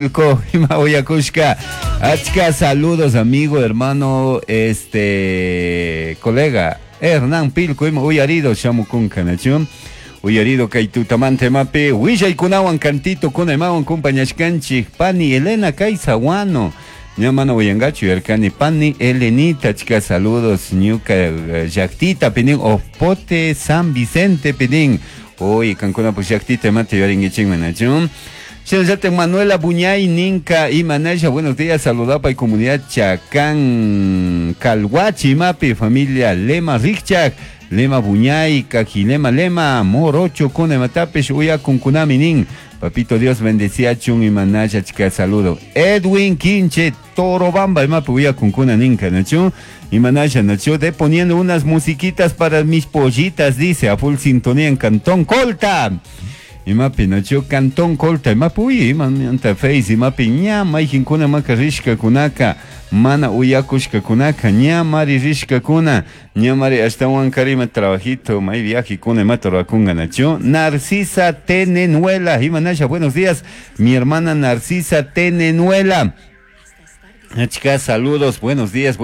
Ima uyakushka. Achka saludos amigo, hermano, este colega Hernán Pilco ima uyarido shamukunka nachu. Uyarido kay tutamanta imapi willaykunawan cantito kuna imawan compañashkanchik pani Elena Kaysahuano. Ña mana uyangachu yarkani pani Elenita achka saludos ñuka llaktita pinin Opote San Vicente pinin. Oy kankunapuk llaktita imata yuyarinkichikman nachu. Shinallatak Manuela Buñay ninka imanasha buenos días saludapay comunidad Chacán Calhuachi imapi familia Lema Rikchak Lema Buñay Kajilema Lema Morocho kuna imatapish uyakunkunami nin Papito Dios bendeciachun imanasha chika saludo Edwin Quinche Torobamba imapi uyakunkuna ninka nachu imanasha nachu de poniendo unas musiquitas para mis pollitas dice a full sintonía en Cantón Colta Imapi nachu Cantón Colta imapi uy imanta face imapi ña mayqinkuna maka rishkakunaka mana uyakushkakunaka ña mari rishkakuna ña mari ashtawan karima trabajito may viajekuna imata rurakunga nachu Narcisa Tenenuela imanasha buenos días mi hermana Narcisa Tenenuela Achka saludos, buenos días,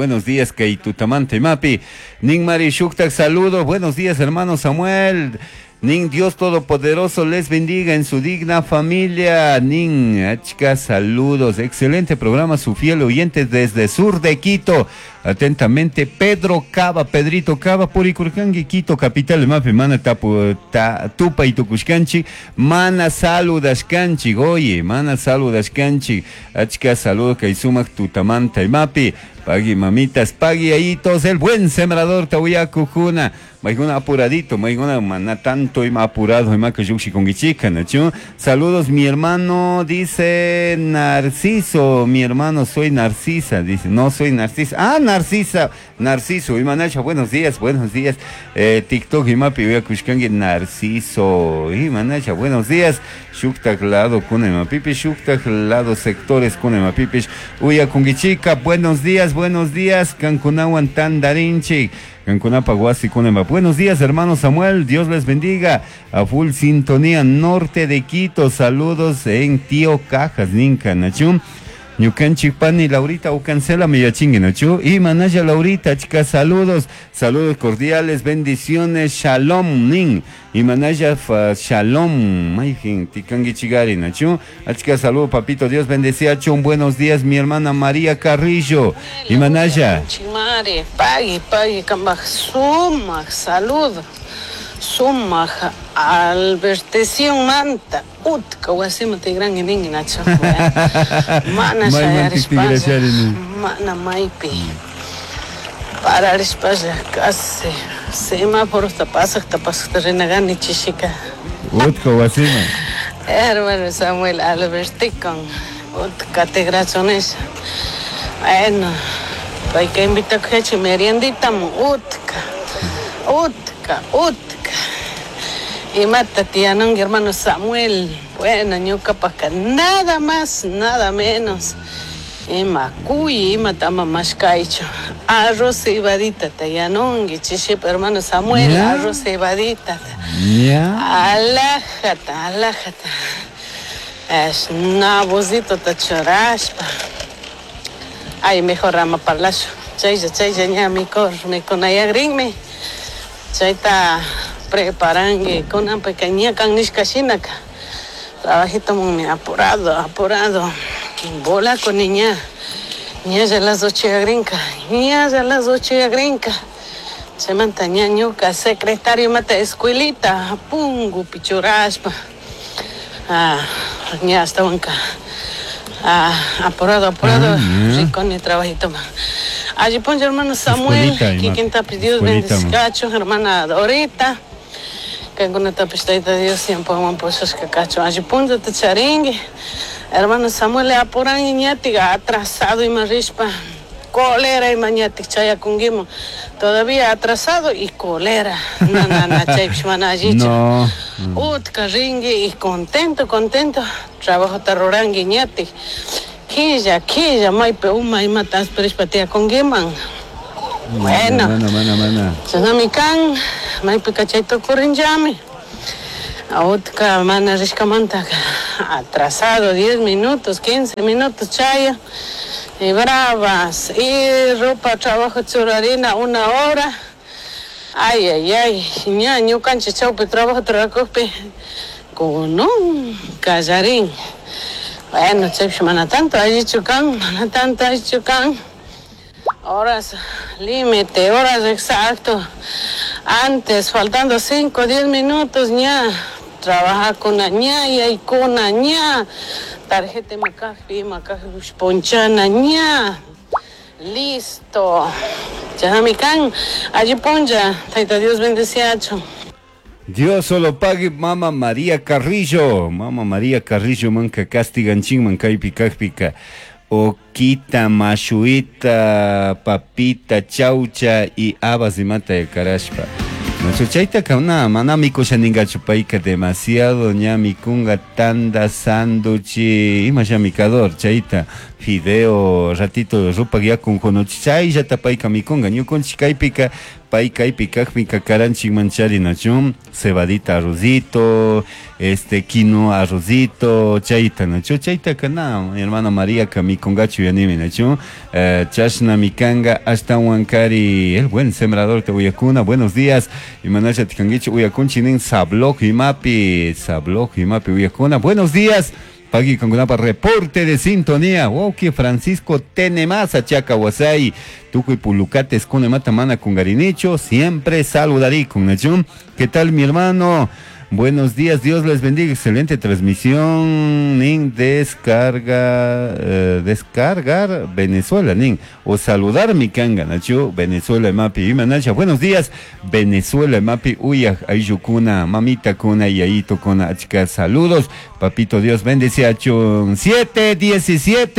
kay tutamanta imapi. Nin Mari Shuktak, saludos, buenos días, hermano Samuel. Nin Dios Todopoderoso les bendiga en su digna familia. Nin Achka, saludos, excelente programa, su fiel oyente desde sur de Quito. Atentamente, Pedro Cava, Pedrito Cava, Puricurcangui, Quito, capital, imapi, mana tapu, ta, tupa y tukushkanchi, mana saludashkanchi, oye, mana saludashkanchi, achka saludos, kay sumak tutamanta, imapi, pagui mamitas, pagui ayitos, el buen sembrador, tawiyakukuna, mayguna apuradito, mayguna mana tanto ima apurado, ima que yuxi con guichica, nachu. Saludos, mi hermano, dice Narciso, mi hermano, soy Narcisa, dice, no soy Narcisa, ah, Narcisa, Narciso, imanacha, buenos días, buenos días, TikTok, imapi, uyakushkangi, Narciso, imanacha, buenos días, shuktak lado, kuna imapipi, shuktak lado, sectores, kuna imapipish, uyakungichica, buenos días, buenos días, kankunawan tandarinchi, kankunapa wasi kuna ima. Buenos días, hermano Samuel, Dios les bendiga, a full sintonía, norte de Quito, saludos en Tío Cajas, ninka, nachum. Ñukanchik pani Laurita ucancela mi yachingue, nachu. Y manaya Laurita, chicas, saludos, saludos cordiales, bendiciones, shalom, nin. Y manaya fa, shalom, mayjin, tikangui chigari, nachu. Achika, saludos, papito, Dios bendecía, chun, buenos días, mi hermana María Carrillo. Y manaya. Chimare, pagui, pagui, kambaj, sumaj, salud. Sumaj, albertesión manta, utka, wasima tigran y nacho. Mana May shayarispa, mantik tigrashari, mana maypi. Pararispa, casi semáforo tapasaj, tapasaj, renagani chishika. Utka, wasima. Hermano Samuel Alberticon, utka tigrachones. Bueno, hay que invitar a que meriendita, utka, utka, utka. Y mata tianón, hermano Samuel. Bueno, ñuka paca, nada más, nada menos. Ima cuy, ima tama mashkaicho. Arroz cebadita, tayanongi, chiship, hermano Samuel, Ya. arroz cebadita. Ya. Alájata, alájata. Es nabozito tachoraspa. Ay, mejor rama parlacho. Chayya, chayya, ña, mi cor, mi conayagrinme. Chayta preparangui con una pequeña canishka shinaka. Trabajito muy apurado, apurado. Bola con niña. Ña ya las 8 grinca. Ña ya las 8 grinca. Se mantaña ñuca, secretario mata escuelita, pungu, pichuraspa. Ah, ña hasta banca. Ah, apurado, apurado. Ah, ya. Rico ni trabajito más. Allí pongo hermano Samuel, Escuelita, que ima. quien te pidió Escuelita, ma. bendición, hermana Dorita. Que con esta pistolita Dios siempre van por esos cacacho. Allí pongo te charingue. Hermano Samuel, apuran y ñatiga, atrasado y marispa. Cólera y mañatic chaya conguimo. Todavía atrasado y cólera. No, no, no, chay, pishmana allí, No. Utka ringue y contento, contento. Trabajo tarorangui ñatic. Quilla, quilla, maipe uma y matas perispatia con guiman. Bueno. Mana, mana, mana. Chanamikan, maipe cachayto corrinjami. Utka mana rishkamanta. Atrasado 10 minutos, 15 minutos chaya. Y bravas. Y ropa trabajo churarina una hora. Ay, ay, ay. Ña, ñukanchik chawpi trabajo trabajopi con un callarín. Bueno, chaypish mana tanto allichu kan, mana tanto allichu kan. Horas límite, horas exacto. Antes, faltando 5, 10 minutos, ña. Trabaja con ña y con ña. Tarjeta macafi, macafi ponchana ña. Listo. Chahamikan, allí ponja. Taita Dios bendeciacho. Dios solo pague Mama María Carrillo. Mama María Carrillo manka castiganchin man kaypi kajpika. Oquita, mashuita, papita, chaucha y habas imata de karashpa. Nacho chayta kauna mana mikusha ningachu payka demasiado ña mikunga tanda sanduchi ima mikador chayta fideo ratito rupak yakun kunuchi chayllata payka mikunga ñukunchik kaypika pay kaypi kajpika karanchik manchari nachu cebadita arrozito este quinoa arrozito chayta nachu chayta kana mi hermana María ka mikungachu yanimi nachu chashna mikanga ashtawan kari el buen sembrador te uyakuna buenos días. Imanasha tikangichi uyakunchi nin sabloj imapi sabloj imapi uyakuna buenos días. Pagui con reporte de sintonía. Woki Francisco Tenemasa Chaca Wasai. Tucuy Pulucates con mata mana con Garinicho. Siempre saludarí con Nachum. ¿Qué tal mi hermano? Buenos días, Dios les bendiga. Excelente transmisión. Nin descarga, descargar Venezuela, nin. O saludar mi kanga, Nacho, Venezuela, mapi. Imanacha, buenos días, Venezuela, mapi. Uya, ayukuna, mamita kuna, yaito kuna, achka. Saludos, papito Dios bendice a 7:17.